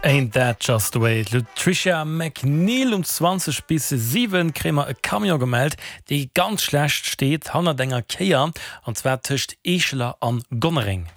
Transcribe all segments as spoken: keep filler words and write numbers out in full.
Ain't that just the way Lutricia McNeal um zwanzeg bis siwen kréie mer e Camion gemellt, dee ganz schlecht steet hannert enger Kéier an zwar tëscht Eescheler an Gonnereng.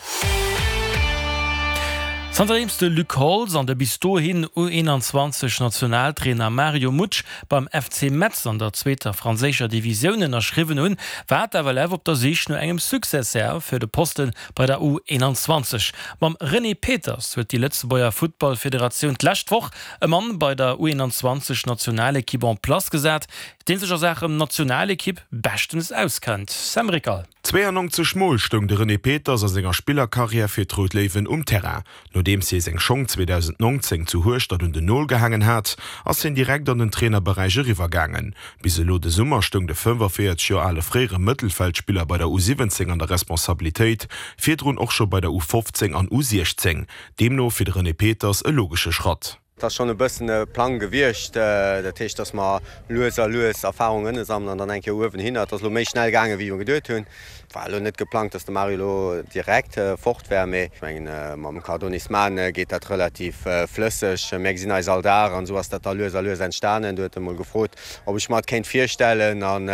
Zanterdeems de Luc Holtz an de bis dohin U eenanzwanzeg Nationaltrainer Mario Mutsch beim F C Metz an der zweeter franséischer Divisioun ënnerschriwwen hunn, war d'F L F op der Sich no engem Successeur fir de Poste bei der U eenanzwanzeg. Mam René Peters huet déi Lëtzebuerger Futtballfederatioun d'lescht Woch e Mann bei der U eenanzwanzeg Nationalekipp en place gesat, dee sech a Saachen Nationalekipp beschtens auskennt. Sam Rickal. Zweeënnonzeg Mol stoung de René Peters a senger Spillerkarriär fir d'Rout Léiwen um Terrain. Nodeems hie seng Schong zweedausendnongzéng zu Hueschtert un den Nol gehaangen hat, ass hien direkt an den Trainerberäich eriwwergaangen. Bis elo de Summer stoung de fënnefaféierzeg Joer ale fréiere Mëttelfeldspiller bei der U siwwenzéng an der Responsabilitéit, virdrun och scho bei der U fofzéng an U siechzéng. Deemno fir de René Peters e logesche Schratt. Et ass schonn e bëssen e Plang gewiescht, dat heescht, datt mer lues a lues Erfarungen sammelen an dann eng Kéier uewen hin. Et ass elo méi schnell gaangen, wéi mer geduet hunn. War elo net geplangt, datt de Mario elo direkt fort wär, mee ech mengen, mam Cardonis Man geet dat relativ flësseg. Mir gesinn eis all Dag an esou ass dat da lues a lues entstanen. Du huet e mol gefrot, ob ech mer et kéint virstellen an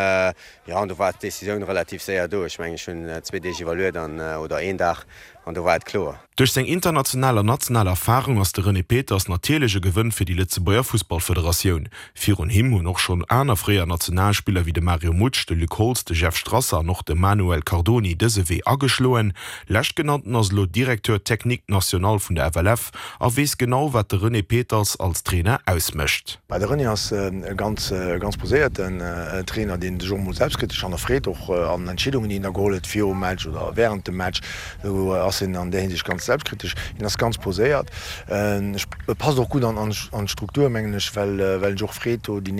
jo, an do war d'Decisioun relativ séier do. Ech mengen, ech hunn zwee Deeg iwwerluet an, oder een Dag, an do war et kloer. Duerch seng international an national Erfarung ass de René Peters natierlech e Gewënn fir déi Lëtzebuerger Fussballfederatioun. Virun him hunn och schonn aner fréier Nationalspiller wéi de Mario Mutsch, de Luc Holtz, de Jeff Strasser an och de Manuel Cardoni dëse Wee ageschloen. Leschtgenannten ass elo Directeur technique national vun der F L F a weess genau, wat de René Peters als Trainer ausmécht. De René ass e ganz ganz poséierten Trainer, deen sech och mol selbstkritesch hannerfreet, och an Entscheedungen, déi en da geholl huet virum Match oder wärend dem Match. Do ass en an där Hinsicht ganz selbstkritesch. Hien ass ganz poséiert. E passt och gutt an d'Struktur, mengen ech, well well en sech och freet do déi